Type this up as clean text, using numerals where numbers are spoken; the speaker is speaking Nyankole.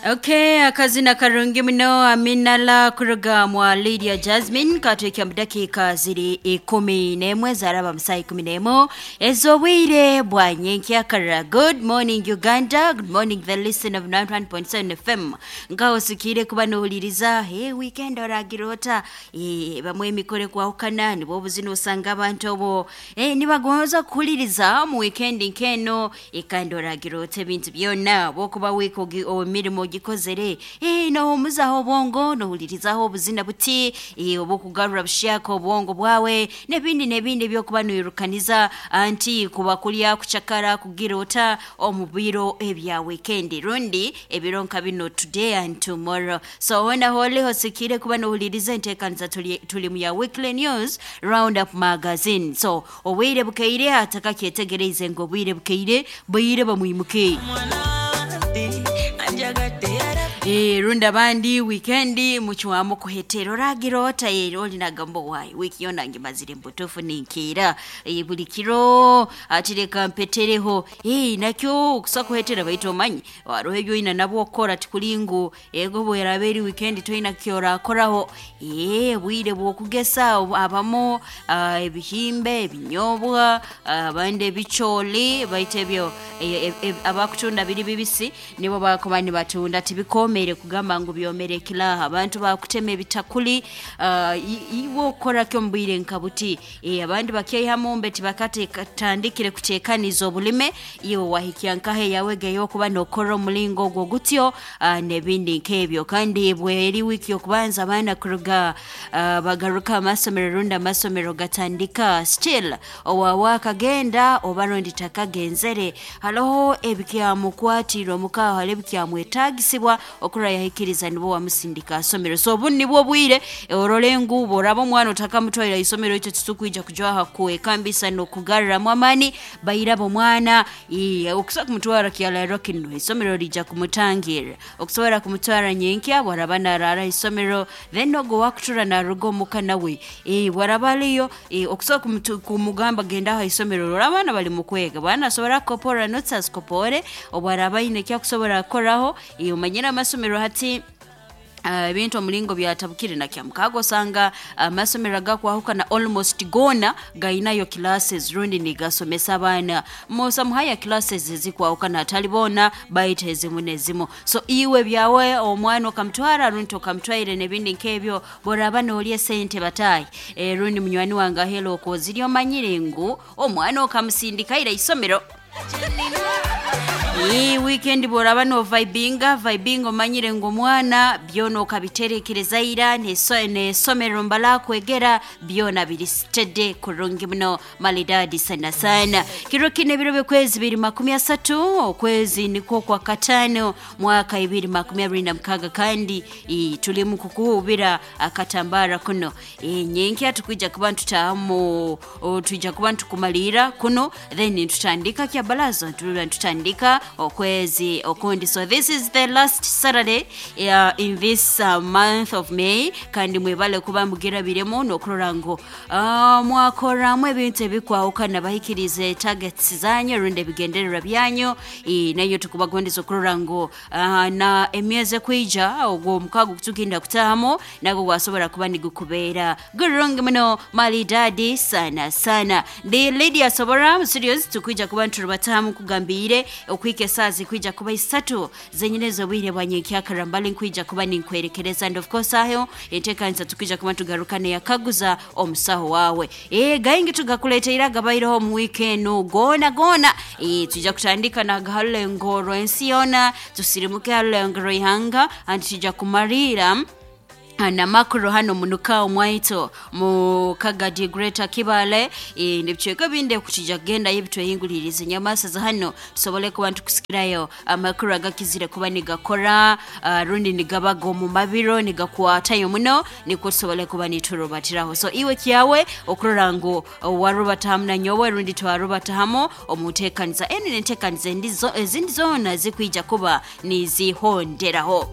Okay, akazina karungi muno Aminala kuruga mwa Lydia Jasmine katwikya mu dakiika ziri 11 zaraba mu saa 11 ez'obwire bwa nyenkyakara. Good morning Uganda, good morning the listen of 91.7 FM. Ngaho osikire kuba nohuliriza hey, weekend oragira ota bamwe emikoro ekwahukana nibwo obuzina osanga abantu obo nibagonza kuhuliriza mu weekend nk'eno kandi oragira ota ebintu byona bwokuba wiiki emirimo ogikozere nohumuzaho obwongo nohulirizaho obuzina buti obukugarura bushyaka obwongo bwawe n'ebindi n'ebindi ebyokuba noirukaniza anti kuba kulya kucakara kugira ota omu biro ebya weekend rundi ebiro nka bino today and tomorrow. So wona holi hosikire kuba nohuliriza enteekaniza tuli mu ya weekly news round up magazine. So obwire bukeire atakakyetegereize ngu obwire bukeire bwire bamwimuke. Rundi abandi weekend muchwamu kuhetera oragira ota oli nagamba wayi wiki yona ngimazire mbutuufu ninkiira buli kiro atireka mpetereho nakyo okusa kuhetera baitu omanyi hariho ebyoina nabwo okukora tikuri ngu ego bweraba eri weekend toina kyorakoraho. Bwire bwokugesa abamu ebihimba ebinyobwa abandi ebicooli baitu ebyo abakutunda biri bibisi nibo bakuba nibatunda tibikomere kugamba ngu byomere kilaha. Abantu bakutema ebitakuli iwe okukoraki omu bwire nka buti abandi bakyeihamu mbe tibakatandikire kuteekaniza obulime iwe wahikya nkahe yawe geyokuba nokora omulingo ogwo gutyo n'ebindi nk'ebyo. Kandi bweri wiiki okubanza abaana kuruga bagaruka amasomero rundi amasomero gatandika still owawe akagenda oba rundi takagenzere hariho ebikyamukwatire omuka hariho ebikyamwetagisibwa okura yahikiriza nibo wamusindika asomero. So obu nibwo bwire orore ngu boraba omwana otakamutwaira isomero ekyo titukwija kujwaha kwekambisa n'okugarramu amaani bairaba omwana okusa kumutwara kyararo kino isomero rija kumutangirra okusobora kumutwara nyenkya bwaraba narara isomero then ogwo wakutura naruga omuka nawe bwaraba ariyo okusobola kumugamba genda aha isomero rora abaana bari mu kwega bwana asobora kukopora notes azikopore obwaraba aine ekyakusobora kukoraho. Omanyire amasomero hati ebintu omulingo byatabukire nakyamukago osanga amasomero agakwahukana almost gona gainayo classes rundi nigasomesa abaana some higher classes ezikwahukana hatali boona baitu ezimu n'ezimu. So iwe byawe omwana okamutwara rundi okamutwaire n'ebindi nk'ebyo boraba noorya esente bataahi rundi munywani wange ahela okwo oziri omanyire ngu omwana okamusindikaire isomero. Weekend bworaba no vibinga vibinga omanyire ngu omwana byona okabiterekereza ira n'esomero mbala kwegera byona biri steady kurungi muno malidadi sana sana. Kiro kino ebiro by'okwezi 2030 okwezi nikwo kwa katano mwaka 2026 kandi tuli mu kukuhubira akatambara kuno nyenkya tukwija kuba ntutamu tuija kuba ntukumalira kuno then tutandika kya balazo tutandika okwezi okundi. So this is the last Saturday in this month of May kandi mwebale kuba mugirabiremu n'okurora ngu mwakoramu ebintu ebikwahukana bahikirize targets zanyu rundi ebigendererwa byanyu nayo tukubagondeza okurora ngu na emyezi ekwija ogwo omukago gutugenda kutahamu nagwo gwasobora kuba nigukubeera gurungi muno malidadi sana sana. Ndi Lydia Sobora studios tukwija kuba nturubatahamu kugambire okwika esaaha zikwija kuba isatu zenyine z'obwire bwa nyenkyakara mbali nkwija kuba ninkwerekereza and of course aho enteekanisa tukwija kuba tugarukane yakaguza omusaho wawe gaingi tugakuleteire agabaireho omu wiiki enu goona goona tuija kutandika nagaharulengo rw'ensi yoona tusirimuke harulengo rw'ihanga anti tuija kumariira na makuru hano munuka omwaito mu Kagadi Greater Kibale n'ebicweka bindi kukija kugendayo ebitwehinguliriza enyamaasa za hano tusobole kuba ntukusikirayo amakuru agakizire kuba nigakora rundi nigabaga omu mabiro nigakwatayo muno nikwo tusobole kuba niturubatiraho. So iwe kyawe okurora ngu warubatahamu na nyowe rundi twarubatahamu omu nteekaniza enu n'enteekaniza ezindi zoona zikwija kuba nizihonderaho.